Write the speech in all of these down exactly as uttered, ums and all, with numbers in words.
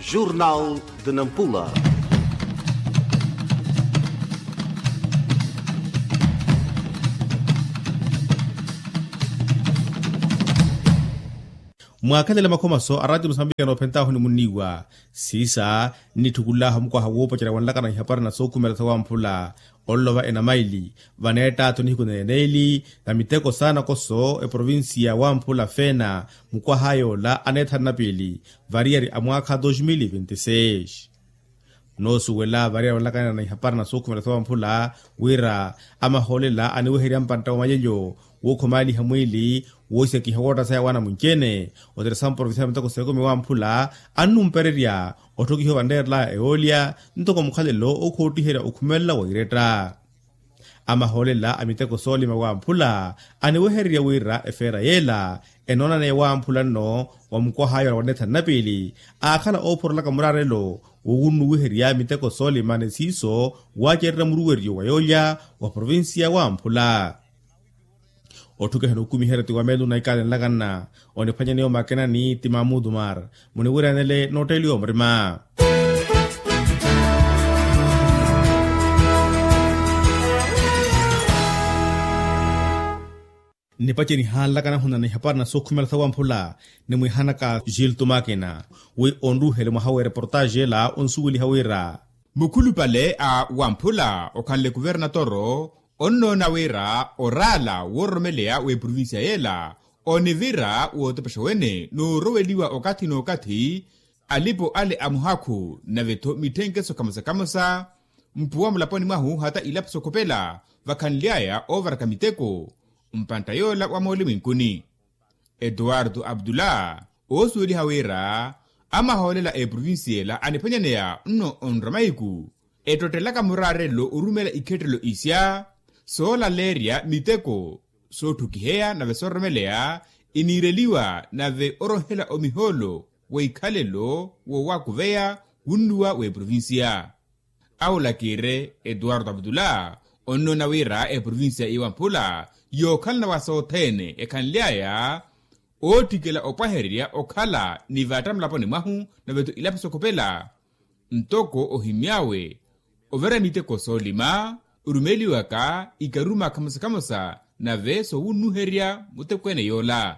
Jornal de Nampula. Mwaakhalela makhomaso a ratio musambiki anoophentaahu ni munniiwa siisa nnitthukul'ahu mukwaha woopacerya wanlakana ihapari na sookhumela sawamphula. Onlova enamaili vaneettaatho nihiku neneeli na miteko saana koso eprovincia wamphula feena mukwaha yoola aneethanu na piili variyari a mwaakha dos mil e vinte seis. Noosuwela variyari onlakanana ihapari na sookhumela sawamphula wira amahoolela aniweherya mpantta wa malelyo wookhomaaliha mwiili woosekiha wootta saya waana munci-ene oteresa mprovincia ya miteko seekumi wamphula annumpererya otthokihiwa vanreerelaya ewoolya ntoko mukhalelo okhootiherya okhumelela wa iretta. Amahoolela a miteko soolima wamphula aniwehererya wira efeera yeela enoonaneya wamphula nno wa mukwaha yoola wa neethanu na piili aakhala oophorolaka muraarelo wowunnuwiherya miteko soolima ni siiso waacererya muruweryo wa yoolya wa provincia wamphula. Otthukeha n'ukumiherya ti wamelu na ikaalenlakanna oniphwanyaneya omakenani ti mamudu mar muniwiryanele nootteeliwa omurima. Nnipace nihaanlakana hunana ihapari na sookhumela sawamphula nimwihanaka gilto makina wi onruuhele mwaha w'ereportaaji ela onsuweliha wira mukhulupale a wamphula okhanle kuvernatoro onnoona wira oraala woororomeleya w'eprovincia yeela onivira wootepexa wene nooroweliwa okathi n'okathi alipo ale a muhakhu nave-tho mitthenkeso kamosa-kamosa mpuwa mulaponi mwahu hata ilaphu sokhopela vakhanly'aya oovaraka miteko mpantta yoola wa mooli mwinkuni. Etuwartu abdullah oosuweliha wira amahoolela a eprovincia ela aniphwanyaneya nno onrwa mahiku ettottelaka muraarelo orumeela ikhettelelo isya soolaleerya miteko sootthukiheya nave soororomeleya iniireliwa nave orohela omihoolo w'ikhalelo woowakuveya wunnuwa w'eprovincia. Awo lakiire etuwartu abdullah onnoona wira eprovincia iwamphula yookhalana wa sothene ekhanly'aya ootthikela opwahererya okhala ni vatta mulaponi mwahu nave-tho ilaphu sokhopela ntoko ohimy'awe overa miteko soolima orumeliwaka ikaruma khamosa-khamosa nave soowunnuherya mutekweene yoola.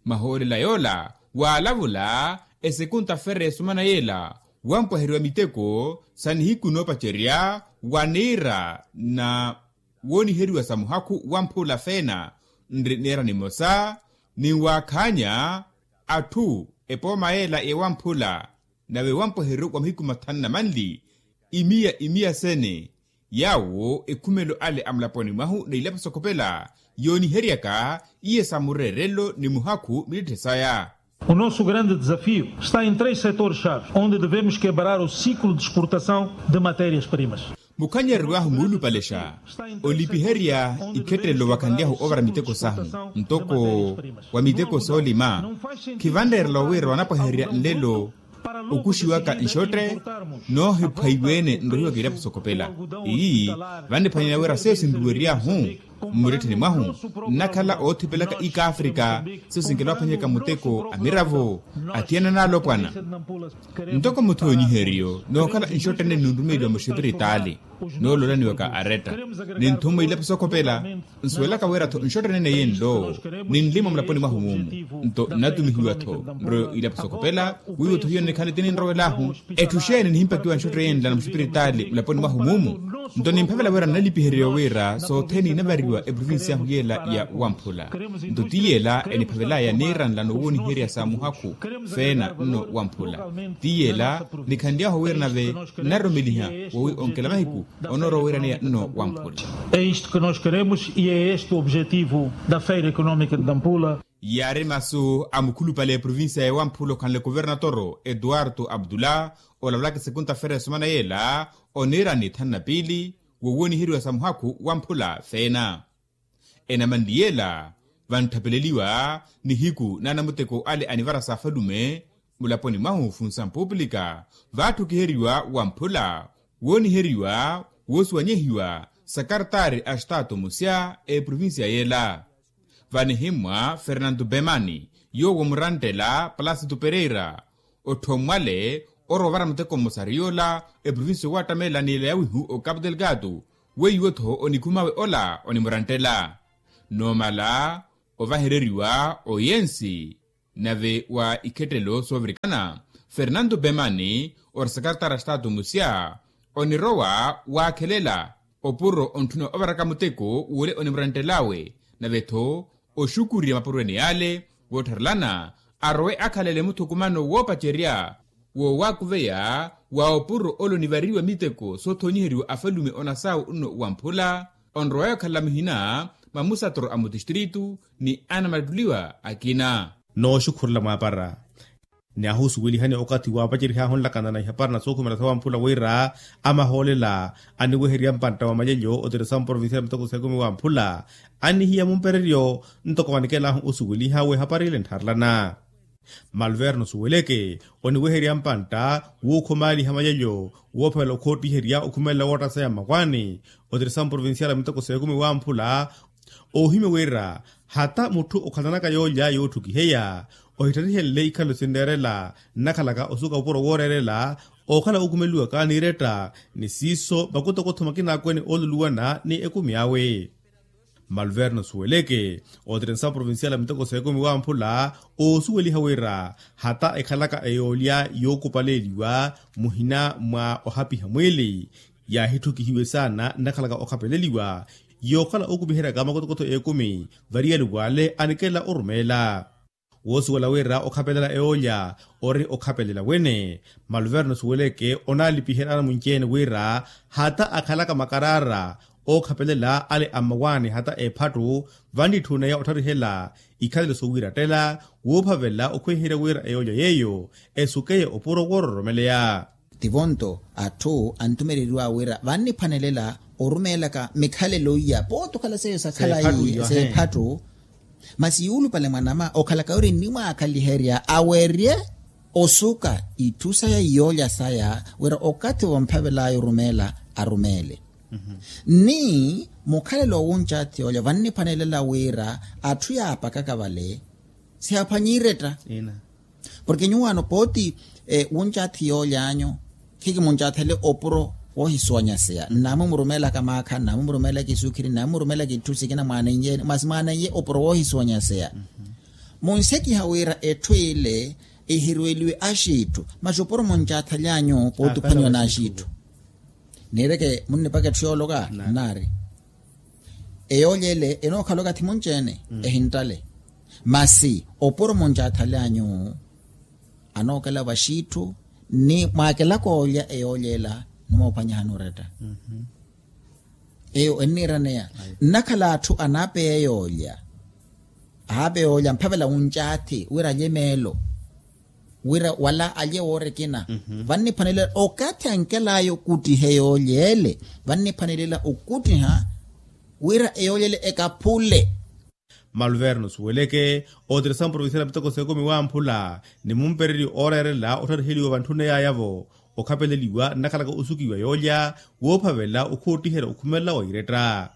Mahoolela yoola waalavula esekunta fere esumana yeela wampwaheriwa miteko sa nihiku noopacerya waniira na wooniheriwa sa muhakhu wamphula feena nri niira nimosa ninwaakhaanya atthu epooma yeela yewamphula nave wampweheryo wa mahiku mathanu na manli imiya imiya sene yaawo ekhumelo ale a mulaponi mwahu na ilaphu sokhopela yooniheryaka iye sa mureerelo ni muhakhu miletthe saya. O nosso grande desafio está em três setores chaves onde devemos quebrar o ciclo de exportação de matérias primas. Mukhanyereriwahu muulupalexa olipiherya ikhettelelo wakhanlyahu ovara miteko sahu ntoko wa miteko soolima khivanreerela wira wanapwahererya nlelo okuxiwaka nxotte noohiphwaiwe-ene nrohiwaka ilaphu sokhopela. Iyi vanniphwanyela wira seyo sinruweryahu mmurettheni mwahu nnakhala oothipelaka ikaafrika seyo sinkela waphwanyaka muteko a miravo athiyana n'alopwana ntoko muthoonyiheryo nookhala nxotte nene nunrumeliwa muxipiritaali noololaniwaka aretta ninthummwa ilaphu sokhopela nsuwelaka wira-tho nxotte nene yenlo ninlimwa mulaponi mwahu mumu nto nnatumihiwa-tho nroyo ilaphu sokhopela wiiwo-tho hiyo nnikhanle ti ninrowelahu etthu xeeni nihimpakiwa nxotte yenla na muxipiritaali mulaponi mwahu mumu nto nimphavela wira nnalipihereriwa wira sothene inavariwa eprovincia ahu yeela ya wamphula nto ti yeela eniphavelaya niira nlano wooniherya sa muhakhu feena nno wamphula ti yeela nikhanly'ahu wira nave nnaroromeliha wowi onkela mahiku onoorowa wiraneya nno wamphula. É isto que nós queremos e é este o objetivo da feira económica de nampula. Yaari masu a mukhulupale eprovincia ya wamphula okhanle kuvernatoro eduardo abdullah olavulaka esekunta fera esumana yeela oniira ni thanu na piili wowooniheriwa sa muhakhu wamphula feena enamanli yeela vantthapeleliwa nihiku n'anamuteko ale anivara sa afalume mulaponi mwahu funsampupulika vaatthu okiheriwa wamphula wooniheriwa woosuwanyehiwa sakartaari a estaato musya eprovincia yeela vanihimmwa fernanto bemani yoowo murantela palasitu pereira otthommwale orowa ovara muteko mmosa ariy'ola eprovincia owattamela ni ela yawihu okapu delgado weiwo-tho onikhum'awe ola onimuranttela noomala ovahereriwa oyensi nave wa ikhettelo soovirikana fernando bemani ori sakaratara statu musya onirowa waakhelela opuro ontthuna ovaraka muteko w'ule onimuranttel'awe nave-tho oxukurya mapuro ene yale woottharelana arowe akhalele muthukumano woopacerya woowakuveya wa opuro ole onivariwa miteko soothonyiheriwa afalume onasaawu nno wamphula onrowaya okhalela muhina mwa musatoro a mutistritu ni anamattuliwa akina. Nooxukhurela mwaapara ni ahusuwelihani okathi waapacerihaahu nlakana na ihapara na sookhumela sawamphula wira amahoolela aniweherya mpantta wa malyelyo otiresamu provincial miteko seekumi wamphula annihiya mumpereryo ntoko vanikelahu osuweliha w'ehapara ile nttharelana malverno suweleke oniweherya mpantta wuukhumaaliha malyelyo woophavela okhoottiherya okhumelela woottaseya mmawaani otiresamu provincial miteko seekumi wamphula oohimya wira hata mutthu okhalanaka yoolya yootthukiheya ohittarihenle ikhalelo sinneerela nnakhalaka osuka opuro wooreerela ookhala ookhumeliwaka n'iretta ni siiso makutokotho makina akwene ooluluwana ni ekumi awe malverno suweleke otirensa provincial a miteko seekumi wamphula oosuweliha wira hata ekhalaka eyoolya yookupaleeliwa muhina mwa ohapiha mwiili yaahittukihiwe saana nnakhalaka okhapeleliwa yookhala ookumiheryaka makotokotho eekumi variyaliw'ale anikela orumeela woosuwela wira okhapelela eyoolya ori okhapelela wene maluverno suweleke onaalipiherya anamunci-ene wira hata akhalaka makaraara ookhapelela ale a mmawaani hata ephattu vannitthuneya ottarihela ikhalelo soowiirattela wuuphavela okhweherya wira eyoolya yeeyo esukeye opuro woororomeleya. Tivo-nto atthu antumeleliwa wira vanniphwanelela orumeelaka mikhalelo iya pooti okhala seiyo sakhalayi seephattu masi yuulupale mwanama okhalaka wira ennimwaakhaliherya awerye osuka itthu saya iyoolya saya wira okathi vomphavel'aya orumeela arumeele ni mukhalelo wowuncathi yoolya vanniphwanelela wira atthu yaapakaka vale siyaaphwanya iretta. Porke nyuwaano pooti wuncathi yoolyaanyu khikimuncathele opuro woohisuwanyaseya nnaamumurumeelaka maakha nnaamumurumeelaka isukhiri nnaamumurumeelaka itthu sikina mwaanenyeeni masi mwaanenye opuro woohisuwanyaseya munsekiha wira etthu ile ehirweliwe axiitthu masi opuro muncathely'anyu pooti ophwanyiwa n'axiitthu niireke munnipaka etthu yooloka nnaari eyoolya ele enookhala okathi munci-ene ehinttale masi opuro muncathale anyu anookela vaxiitthu ni mwaakelaka oolya eyoolya ela nimoophwanyahani oretta eyo enniiraneya nnakhala atthu anaapeya eyoolya ahaapeya oolya mphavela wuncaathi wira alye meelo wira wala alye woora ekina vanniphwanelela okathi ankel'aya okuttiha eyoolya ele vanniphwanelela okuttiha wira eyoolya ele ekaphule maluverno suweleke otirisa mprovincial a miteko seekumi wamphula ni mumpereryo ooreerela ottariheliwa vantthuna yaaya-vo okhapeleliwa nnakhalaka osukiwa yoolya woophavela okhootiherya okhumelela wa iretta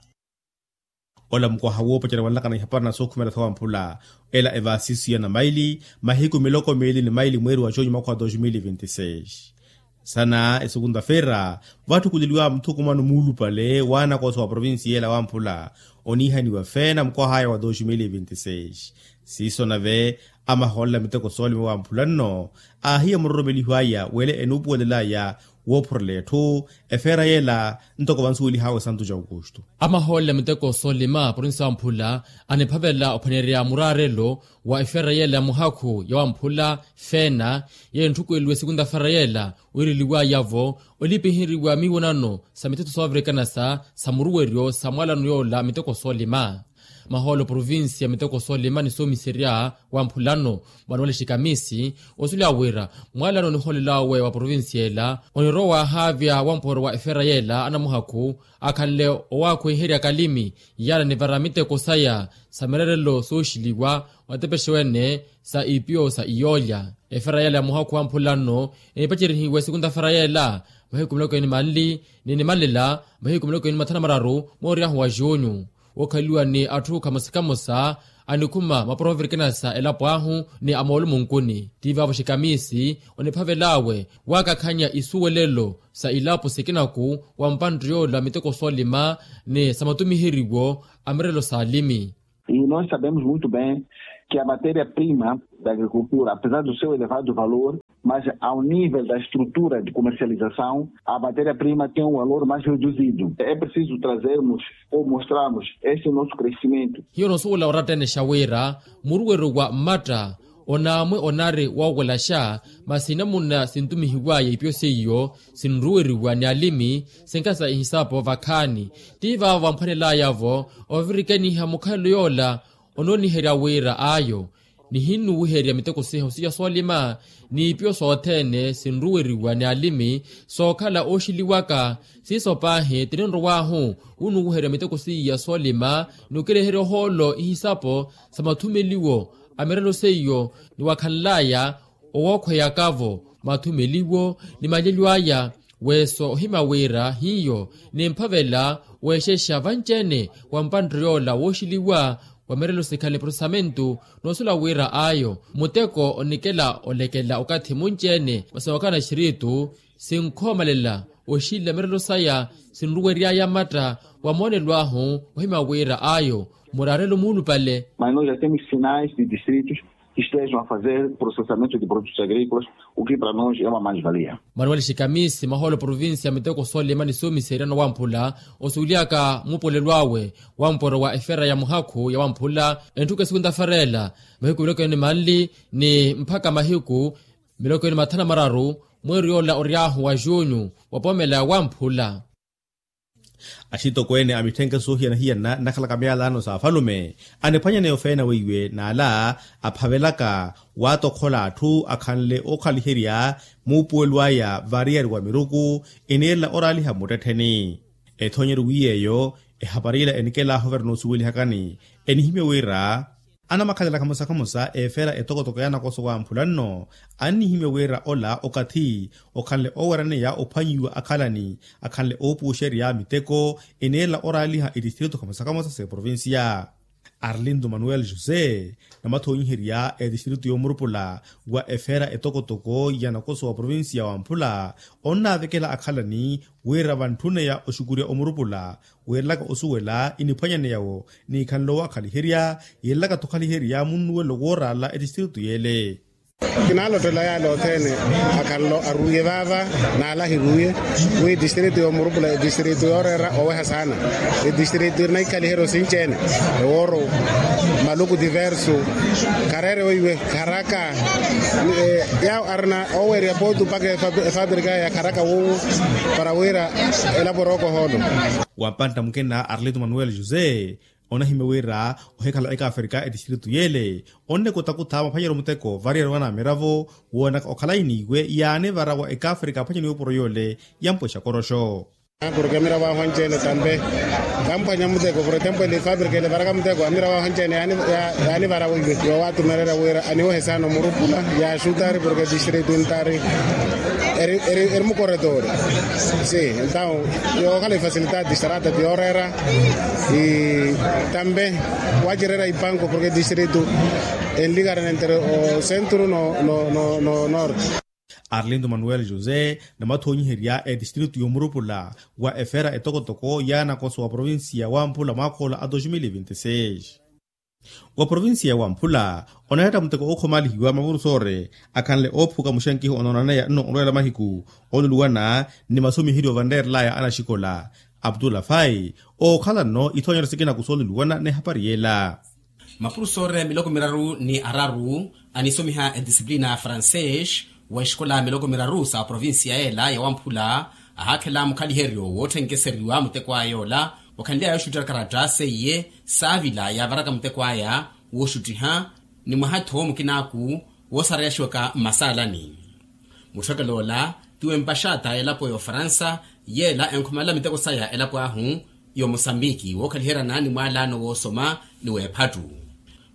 ola mukwaha woopacerya wanlakana ihapara na sookhumela sawamphula ela evaasisiya na maili mahiku miloko miili ni maili mweeri wa juni mwakha wa dos mil vinti seis sana esukunta-feira vatthukuleliwa muthukumano muulupale waanakoso wa provincia ela wamphula oniihaniwa feena mukwah'aya wa dos mil vinti seis siiso nave amahoolela miteko soolima wamphula nno aahiya muroromeliho aya wele enuupuwelel'aya woophurela etthu efeera yela ntoko vansuwelih'awe santu ja aukusto amahoolela miteko soolima provincia wamphula aniphavela ophwaneerya muraarelo wa efeera yela ya muhakhu ya wamphula feena yeyo entthukweeliwe sikunta-feera yela wiireliw'aya-vo olipiheriwa miwonano sa mithetho soovirikana sa sa muruweryo sa mwaalano yoola miteko soolima mahoolo provincia miteko soolima ni soomiserya wamphulano mwanuwale xikamisi osuleya wira mwaalano onihoolel'awe wa provincia ela onirowa waahaavya wampooro wa efeera yela anamuhakhu akhanle owaakhweherya kalimi yaala nivara miteko saya sa mireerelo sooxiliwa otepexe wene sa ipiyo sa iyoolya efeera yela ya muhakhu wamphula nno enipacerihiwe sikunta-feera yela mahiku miloko eni manli ni nimanlela mahiku miloko eni mathanu amararu mooryahu wa junyu wookhaleliwa ni atthu khamosa khamosa anikhuma maporovirikina sa elapo ahu ni amoolumo nkuni. Tiivaavo xikamisi oniphavel'awe waakakhanya isuwelelo sa ilapo sikinaku wa mpanttiy'ola miteko soolima ni sa matumiheriwo a mirelo s'alimi. E nós sabemos muito bem que a matéria prima da agricultura, apesar do seu elevado valor, mas ao nível da estrutura de comercialização a matéria prima tem um valor mais reduzido. É preciso trazermos ou mostrarmos esse nosso crescimento. Hiyo noosuwela oratta-ene xa wira muruweryo wa mmatta onaamwe onari woowelaxa, masi inamuna sintumihiwaya ipyo seiyo sinruweriwa ni alimi, sinkasa ihisapo vakhaani. Tiivaavo vamphwanelayavo ovirikaniha mukhalelo yoola onooniherya wira ayo nihinnuwiherya miteko siha osiya soolima ni ipyo sothene sinruweriwa ni alimi sookhala ooxiliwaka. Siiso paahi tininrow'ahu wunuwiherya miteko siya soolima ni okireherya ohoolo ihisapo sa mathumeliwo a mirelo seiyo ni wakhanlaya owookhweyakavo mathumeliwo ni malyelyo aya. Weeso ohimya wira hiyo nimphavela weexexa vanci-ene wa mpanttho yoola wooxiliwa wa mirelo sikhale prosesamentu noosula wira ayo muteko onikela olekela okathi munci-ene masi nookhala na xiritu sinkhomalela oxila mirelo saya sinruwery'aya matta wa moonelo ahu ohimya wira ayo muraarelo muulupale. Mas nós já temos sinais de distritos que estejam a fazer processamento de produtos agrícolas, o que para nós é uma mais-valia. Manuel xikamisi mahoolo provincia miteko soolima ni soomiserya na wamphula osuweliyaka muupolelo awe wa mporo wa efera ya muhakhu ya wamphula entthukhu esikuntaferela mahiku miloko ene manli ni mpakha mahiku miloko ene mathanu na mararu mweeri yoola ory'ahu wa junyu wa poomela ya wamphula. Axitokweene a mitthenke soohiyana-hiyana nnakhalaka myaalaano s'afalume aniphwanyaneya ofeena weiwe n'ala aphavelaka waatokhola atthu akhanle ookhaliherya muupuwelo aya variyari wa miruku eneerela oraaliha mmuttettheni. Ethoonyeryo wi yeeyo ehapari ila enikelaaha overa noosuwelihakani enihimya wira anamakhalelaka musa-khamusa efera etokotoko ya nakoso wamphula nno annihimya wira ola okathi okhanle oowereneya ophwanyiwa akhalani akhanle oopuxerya miteko eneerela oraaliha etistritu khamusa-khamusa s'eprovincia. Arlindo manuel josé namathoonyiherya etistritu y'omurupula wa efera etokotoko ya nakoso wa provincia wamphula onnaavekela akhalani wira vantthuneya oxukurya omurupula weerelaka osuwela iniphwanyaneya-wo n'ikhanle owaakhaliherya yeerelaka-tho okhaliherya munnuwelo wooraala etistritu yeele. Kinaalotthela yaale othene akhanle aruriye vaava n'ala ahiriwiye wi etistritu y'omurupula etistritu yooreera oweha saana etistritu irina ikhaliheryo sinci-ene ewooro maluku diversu khareere weiwe kharaka. Yaawo arina oweerya pooti mpakha efapirika ya kharaka wuuwu para wira elapo erooko ohoolo. Wa mpantta mukina arlito manuel josé onahimya wira ohikhala ekafrika etistritu yeele onnekotakutha maphwanyeryo muteko variyari wana a miravo woonaka okhala iniiwe yaanivara wa ekafrika aphwanyeni yoopuro yoole yampwexa koroxo. Porke amiravo ahu anci-ene tampe kamphwanya muteko por exemplo ele fapirika ele varaka muteko amiravo ahu anci-ene yaanivara wiiwe yoowatumelela wira aniwehe saana omurupula yaaxutari porke distritu ntari eri mukoretori. Si entaw yookhala ifasilita distrata ti yooreera tampe wacireera ipanko porke distritu enlikarana entre osentru no norte. Arlindo manuel josé namathoonyiherya etistritu y'omurupula wa efera etokotoko ya nakoso wa provincia wamphula mwaakhoola a dos mil e vinte e seis. Wa provincia ya wamphula onayatta muteko ookhomalihiwa mapurusoore akhanle oophuka muxenkiho onoonaneya nno olweela mahiku oluluwana ni masomiheryo vanreerelaya anaxikola. Abdullah fai ookhala nno ithoonyeryo sikinaku sooluluwana n'ehapari yeela. Mapurusoore miloko miraru ni araru anisomiha edisiplina ya francês wa exikola miloko miraru sa provincia yeela ya wamphula ahaakhela mukhaliheryo wootthenkeseryiwa muteko aya yoola wakhanly'aya oxuttira karatta seiye saavila yaavaraka muteko aya wooxuttiha ni mwaha-tho mukinaaku woosareyaxiwaka mmasaalani. Mutthekelo ola tiwe mpaxata elapo ya ofaransa yeela enkhomalela miteko saya elapo ahu y'omosambiki wookhaliheryana ni mwaalaano woosoma ni w'ephattu.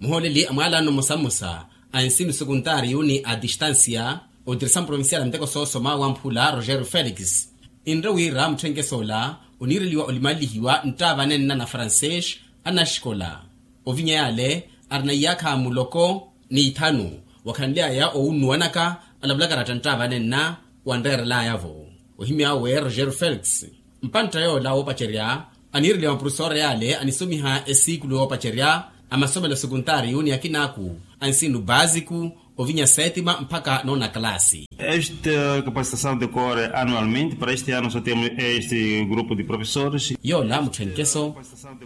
Muhooleli a mwaalaano mmosa-mmosa a ensino sekuntaariyu ni a distansiya otirisano provincial a miteko soosoma wamphula rogerio felix enre wira mutthenkeso ola oniireliwa olimalelihiwa nttaava anenna na francês anaxikola. Ovinya yaale Arina iyaakha muloko ni ithanu, wakhanly'aya owunnuwanaka alavulaka aratta nttaavanenna wanreerel'aya-vo. Ohimy'awe roger felix, mpantta yoola woopacerya aniireliwa maprofesore yale anisomiha esiikulu yoopacerya a masomelo sekuntaariyu ni akinaaku a nsinu baasiku ovinya setima mpakha noona kalaasi. Esta capacitação decorre anualmente para este ano só temos este grupo de professores. Yoola mutthenkeso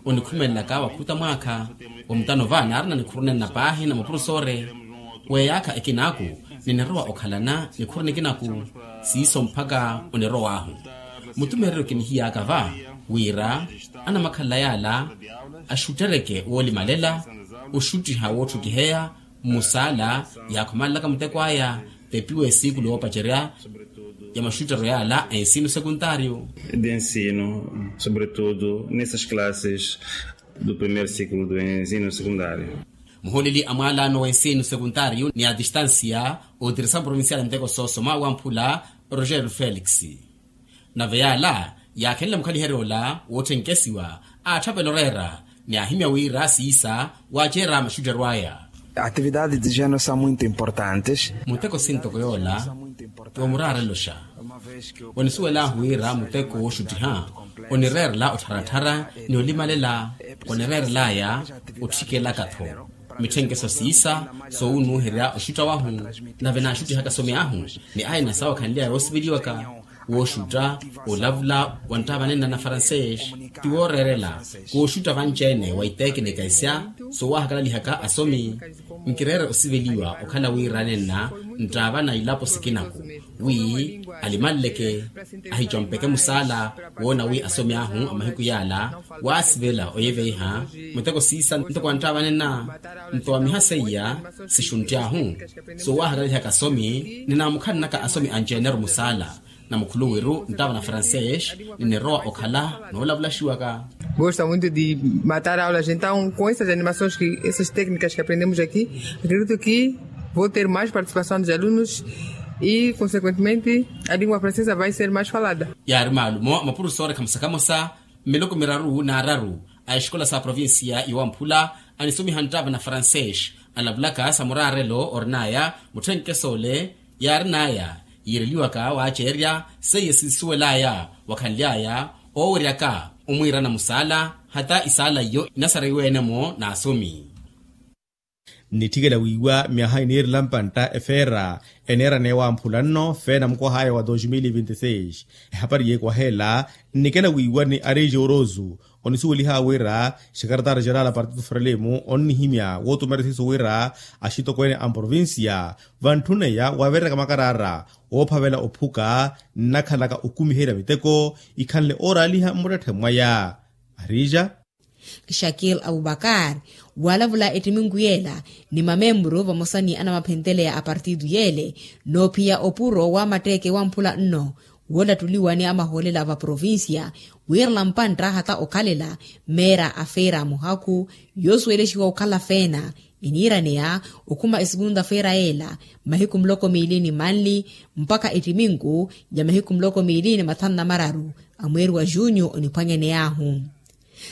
onikhumelelaka wakhuta mwaakha omutano va naarina nikhuru nenna paahi na maprofesore. Weeyaakha ekinaaku ninirowa okhalana nikhuru nikinaku siiso mpakha onirow'ahu. Mutumeereryo kinihiy'aka va wira anamakhalela yaala axuttereke woolimalela oxuttiha wootthukiheya mmusaala yaakhumanlaka muteko aya. Tepiwa esiikulu yoopacerya ya maxuttero yaala a ensino sekuntaariyo. De ensino sobretudo nessas classes do primeiro ciclo do ensino sekuntaariyo. Muhooleli a mwaalaano wa ensino sekuntaariyo ni a distansiya otirisa provincial muteko soosoma wamphula roger felix. Nave yaala yaakhenle mukhaliherya ola wootthenkhesiwa aatthapela oreera ni aahimya wira siisa waaceera maxuttero aya. Atividade de jeno sa muito importantes. Muteko sintoko yoola yoomuraarelo xa onisuwel'ahu wira muteko wooxuttiha onireerela ottharattharya ni olimalela. Onireerel'aya otthikelaka-tho mitthenkeso siisa soowunnuuherya oxutta wahu. Nave naaxuttihaka asomi ahu ni aina saawakhanly'aya yoosiveliwaka wooxutta olavula wa nttaavanenna na francês ti wooreerela kooxutta vanci-ene wa itekinika isya soowaahakalalihaka asomi. Nkireere osiveliwa okhala wiiranenna nttaavana ilapo sikinaku wi alimanleke ahicompeke musaala woona wi asomi ahu a mahiku yaala waasivela oyeveiha muteko siisa ntoko anttaavanenna. Nto wa miha seiya sixuntti ahu soowaahakalalihaka asomi ni naamukhalelaka asomi anci-eneru musaala na mukhuluwiru nttaava na francês ni nirowa okhala noolavulaxiwaka. Gosta muito de matar aulas então com essas animações que essas técnicas que aprendemos aqui acredito que vou ter mais participação dos alunos e consequentemente a língua francesa vai ser mais falada. Yaari maalumo a mapurusori khamosa khamosa mmiloko miraru n'araru a exikola sa provincia yowamphula anisomiha nttaava na francês alavulaka sa muraarelo orin'aya mutthenkeso ole yaarin'aya yiireliwaka waaceerya seiye sinsuwel'aya wakhanly'aya ooweryaka omwiirana musaala hata isaala iyo inasariwe-ene-mo n'asomi. Nnitthikela wiiwa myaha eniirela mpantta efeera eneeraneya wamphula nno feena mukwah'aya wa dos mil vinti seis. Ehapari yeekwaha ela nnikela wiiwa ni ariji orosu onisuweliha wira xekaretari xerala partido frelimo onnihimya wootumera siiso wira axitokweene a mprovincia vantthuna eya wavereryaka makaraara woophavela ophuka nnakhalaka okumiherya miteko ikhanle ooraaliha mmuttetthe mwaya. Arija. Shakil abubakar waalavula ettiminku yeela ni mamemburu vamosa ni anamaphenteleya a partido yeele noophiya opuro wa matteeke wamphula nno woolattuliwa ni amahoolela va provincia wiirela mpantta hata okhalela meera a feera a muhakhu yoosuwelexiwa okhala feena eniiraneya okhuma esukunta feera yeela mahiku muloko miili ni manli mpakha ettiminku ya mahiku muloko miili ni mathanu na mararu a mweeri wa junyu oniphwanyaney'ahu.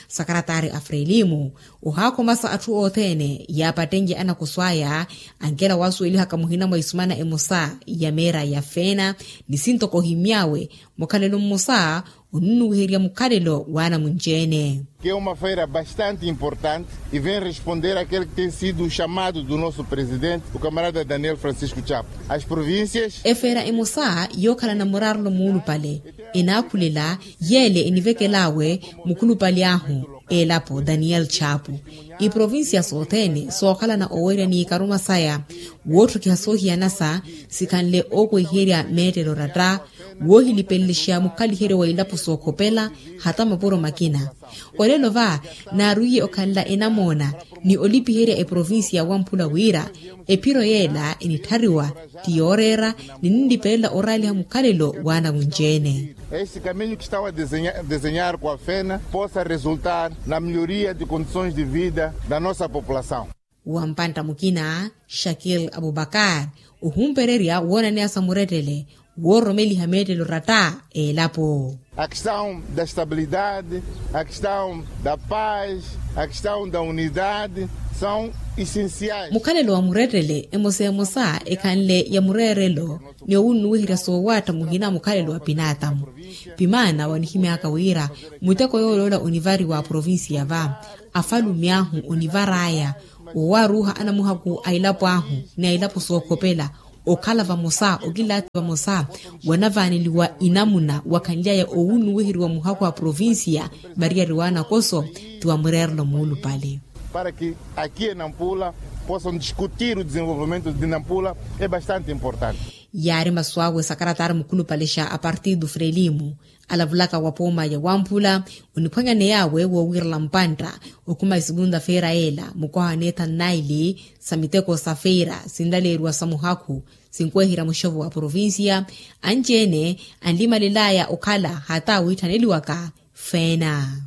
Sakaratari a frelimu ohaakhomaxa atthu othene yaapattenye anakoso aya ankela waasuwelihaka muhina mwa isumana emosa ya meera ya feena ni sintoko ohimy'awe mukhalelo mmosa onunnuwiherya mukhalelo w'anamunci-ene. Que é uma feira bastante importante e vem responder àquele que tem sido o chamado do nosso presidente o camarada daniel francisco chapo as províncias. Efeera emosa yookhalana muraarelo muulupale enaakhulela yeele enivekel'awe mukhulupale ahu elapo daniel chapo iprovincia sothene sookhalana oweerya n'ikaruma saya wootthokiha soohiyanasa sikhanle ookwehiherya meettelo oratta woohilipelelexa mukhaliheryo wa ilapo sookhopela hata mapuro makina. Olelo va naarwiiye okhanla enamoona ni olipiherya eprovincia wamphula wira ephiro yeela enitthariwa ti yooreera ni ninlipelela oraaliha mukhalelo w'anamunci-ene. Esse caminho que estava a desenhar com a fena possa resultar na melhoria de condições de vida da nossa população. Wa mpantta mukina shakil abubakar ohumpererya woonaneya sa murettele wooromeliha meettelo ratta eelapo. A questão da estabilidade, a questão da paz, a questão da unidade são essenciais. Mukhalelo wa murettele emosa emosa ekhanle ya mureerelo ni owunnuwiherya soowaatta muhina mukhalelo wa pinaatamu. Pimaana wanihimyaka wira muteko yooloola onivariwa a provincia va afalume ahu onivar'aya owaaruuha anamuhaku a elapo ahu ni a elapo sookhopela okhala vamosa okilaati vamosa wanavaaneliwa inamuna wakhanly'aya owunnuwiheriwa muhakhu a provincia variyari w'anakoso ti wa mureerelo muulupale. Para que aqui em Nampula possam discutir o desenvolvimento de Nampula é bastante importante. Yaari masu awe sakaratari mukhulupale xa a partido frelimo alavulaka wa pooma ya wamphula oniphwanyaneya awe woowirela mpantta okhuma esegunda feira ela mukwaha neethanu naili sa miteko sa feira sinlaleeriwa sa muhakhu sinkweherya muxovo wa provincia anci-ene anlimalel'aya okhala hata wiitthaneliwaka feena.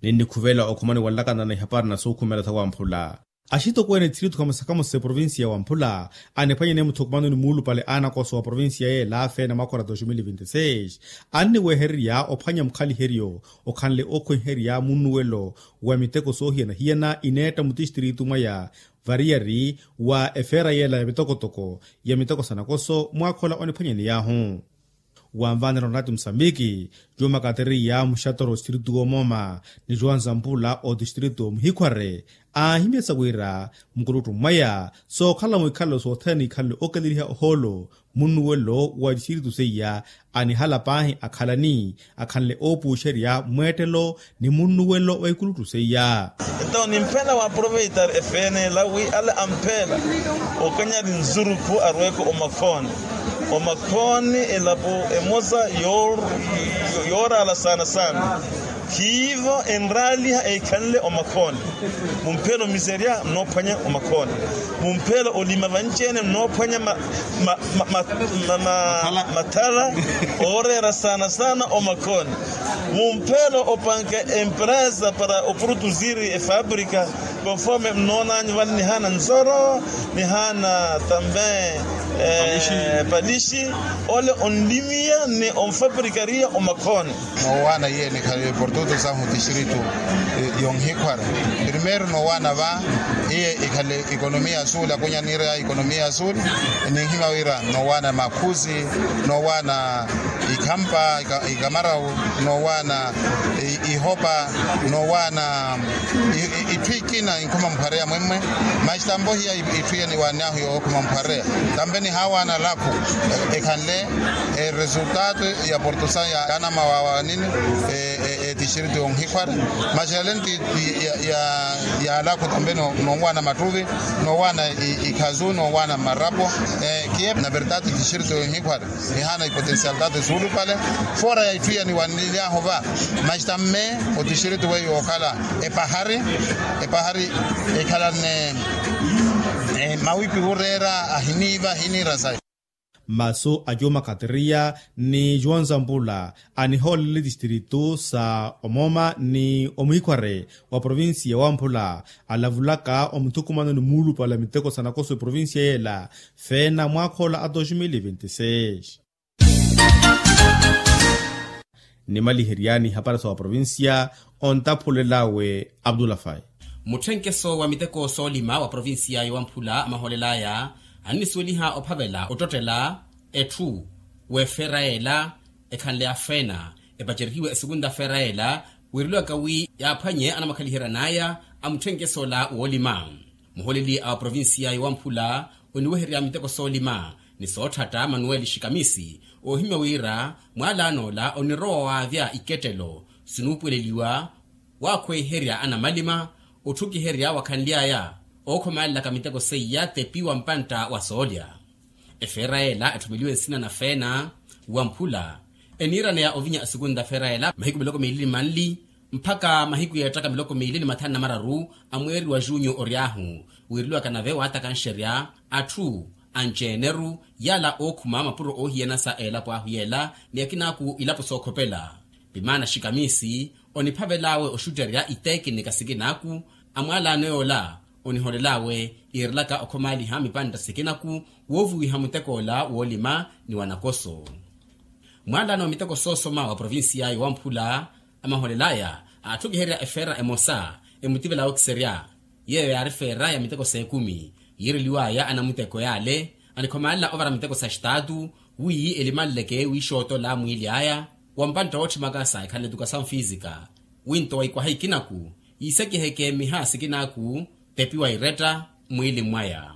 Ninnikhuvela okhumani wanlakana na ihapari na suukhumela sa wamphula axitokweene ethiritu khamosa khamosa eprovincia ya wamphula aniphwanyane muthukumanoni muulupale a anakoso wa provincia yeela feena mwakhora dos mil vinti seis anniwehererya ophwanya mukhaliheryo okhanle ookhwenherya munnuwelo wa miteko soohiyana-hiyana ineetta mutistiritu mwaya variyari wa efeera yeela ya mitokotoko ya miteko sa nakoso mwaakhola oniphwanyaneyahu. Wanvaanela onati musambiki juuma kateriya muxatoro otistritu woomooma ni juwanza mpula otistritu omuhikhware aahimyasa wira mukuluttu mwaya sookhala mwikhalelo sothene ikhalele okeleliha ohoolo munnuwelo wa tistritu seiya anihala paahi akhalani akhanle oopuuxerya mweettelo ni munnuwelo wa ikuluttu seiya. Entaw nimphela waaproveitar efeene ela wi ale amphela okanyari nzurukhu arweeke omakhooni. Omakhooni elapo emosa yooraala saana saana khiivo enraaliha eikhanle omakhooni. Mumphela omiserya nnoophwanya omakhooni. Mumphela olima vanci-ene nnoophwanya mathala ooreera saana saana omakhooni. Mumphelo opanka empresa para oproduzir efábrika conforme mnoonanyu vale nihaana nzoro nihaana também palixi ole onlimiya ni onfabrikariya omakhooni. Noowaana iye nikhale portutu sahu distrito yonhikhwara primeiro noowaana va iye ikhale ekonomiya ya sul akunyanireya ekonomiya ya sul. Ninhimya wira noowaana makhusi noowaana ikhampa ikamarawu noowaana ihopa noowaana itthu ikina inkhuma mphareya mwemmwe. Maxi tampo hiya itthu iya niwaanyahu yookhuma mphareya tampe nihaawaana lakhu ekhanle eresultato ya portusa ya anamawaawanini etistrito yonhikhwara. Maxi yale nti ya lakhu tampe noowaana mattuvi noowaana ikhazu noowaana marapo. Kiye na verdade tistrito yonhikhwara nihaana ipotensialidade suulupale fora ya itthu ya niwanilyahu va. Maxi tamme otistrito weiyo okhala epahari epahari ekhalanne mawipi wureera ahiniiva ahiniira sayi. Masu a juma kateriya ni juwanza mpula anihoolele tistrito sa omooma ni omuhikhware wa provincia wamphula alavulaka omuthukumano ni muulupale a miteko sa nakoso eprovincia yeela feena mwaakhoola a dos mil vinti seis. Nimaliheryani hapari sa wa provincia ontaphulel'awe abdulafai. Mutthenkeso wa miteko soolima wa provincia yowamphula amahoolel'aya annisuweliha ophavela ottottela etthu w'efeera yeela ekhanle ya feena epacerihiwe esukunta feera yeela wiireliwaka wi yaaphwanye anamwakhaliheryan'aya a mutthenkeso ola woolima. Muhooleli a oprovincia yowamphula oniweherya miteko soolima ni sootthata manuweli xikamisi oohimya wira mwaalano ola onirowa waavya ikettelo sinuupuweleliwa waakhweiherya anamalima otthukiherya wakhanly'aya ookhomalelaka miteko seiya tepi wa mpantta wa soolya. Efeera yeela etthumeliwe nsina na feena wamphula eniiraneya ovinya asukunta feera yeela mahiku miloko miili ni manli mpakha mahiku yeettaka miloko miili ni mathanu na mararu a mweeri wa junyo ory'ahu. Wiireliwaka nave waatakanxerya atthu anci-eneru yaala ookhuma mapuro oohiyana sa elapo ahu yeela ni akinaaku ilapo sookhopela. Pimaana xikamisi oniphavel'awe oxutterya itekinika sikinaaku a mwaalano yoola Oniholel'awe iirelaka okhomaaliha mipantta sikinaku woovuwiha mutek'ola woolima ni wanakoso. Mwaalano wa miteko soosoma wa provincia yowamphula amaholel'aya atthu okiherya efeera emosa emutivela okiserya, yeeyo yaari feera ya miteko s'ekumi yiireliw'aya anamuteko yaale anikhomaalela ovara miteko sa xitaatu wi elimanleke wiixootola mwiili aya wa mpantta wootthimaka sa ekhanle tuka sa mfisika. Wi nto wa ikwaha ikinaku yiisakiheke miha sikinaku tepi wa iretta mwiili mwaya.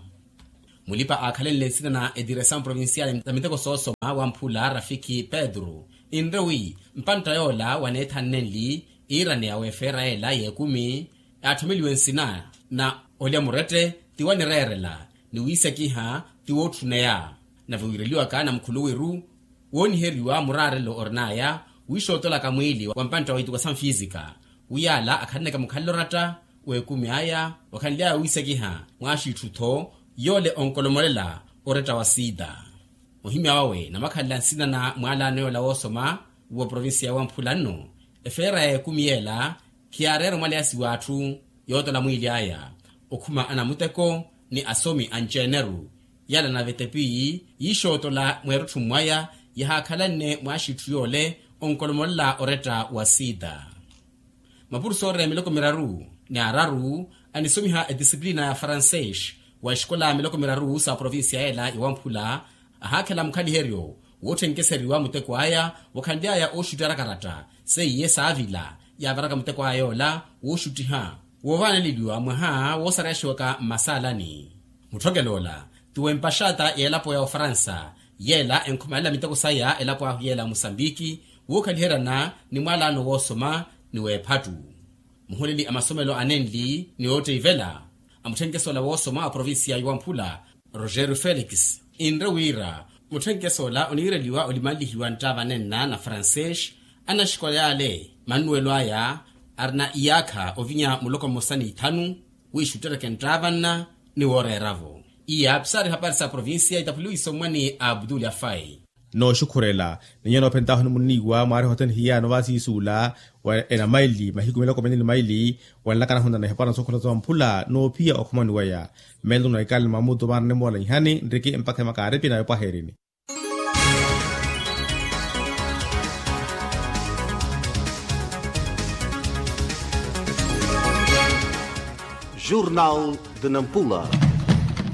Mulipa aakhalenle nsina na etiresawu provincial na miteko soosoma wamphula rafiki pedro, inre wi mpantta yoola waneethannenli iiraneya w'efeera yeela y'ekumi, aathomeliwe nsina na olya murette ti wanireerela ni wiisakiha ti wootthuneya. Nave wiireliwaka na mukhuluwiru wooniheriwa muraarelo orin'aya wiixootolaka mwiili wa mpantta wa ituka sa mfisika, wi yaala akhalanneke mukhalelo oratta w'ekumi aya wakhanly'aya wiisakiha mwaaxiitthu-tho yoole onkolomolela oretta wa sida. Ohimya wawe namakhalela nsina na mwaalano yoola woosoma wa provincia ya wamphula nno efeera y'ekumi yeela khiyaareera omwaleyasi w'atthu yootola mwiili aya okhuma anamuteko ni asomi anci-eneru. Yala nave tepi yiixootola mweerutthu mwaya yahaakhalanne mwaaxiitthu yoole onkolomolela oretta wa sida. Mapurusoori a miloko miraru ni araru anisomiha edisiplina ya francês wa exikola ya miloko miraru sa provincia yeela ya wamphula ahaakhela mukhaliheryo wootthenkeseryiwa muteko aya wakhanly'aya ooxutti arakaratta seiye saavila yaavaraka muteko aya yoola wooxuttiha woovaaneleliwa mwaha woosareyaxiwaka mmasaalani. Mutthokelo ola ti w'empaxata y'elapo ya ofaransa yeela enkhumaalela miteko saya elapo ahu yeela ya musambiki wookhaliheryana ni mwaalano woosoma ni w'ephattu. Muhuleli a masomelo anenli ni ootteivela a mutthenkesola woosoma a provincia ya wamphula rogerio felix inre wira mutthenkesola oniireliwa olimanlihiwa nttaavanenna na francês anaxikola yaale mannuwelo aya arina iyaakha ovinya muloko mmosa n'ithanu wiixuttereke nttaavanna ni wooreera-vo. Iya pisaari hapari sa provincia itaphuliwe isommwa ni abdul afai. Nooxukhurela ni nyuwo noophentahu nimunniiwa mwaariha othene hiyano vaasiisuula wa enamaili mahiku miloko mene ni maili wanlakana hunana ehapara na sookholosa wa mphula noophiya okhomani weya. Melo na ikali mamutu vaana nimoola nhani nriki mpakha emakaaripi na epwaherini. Jornal de nampula.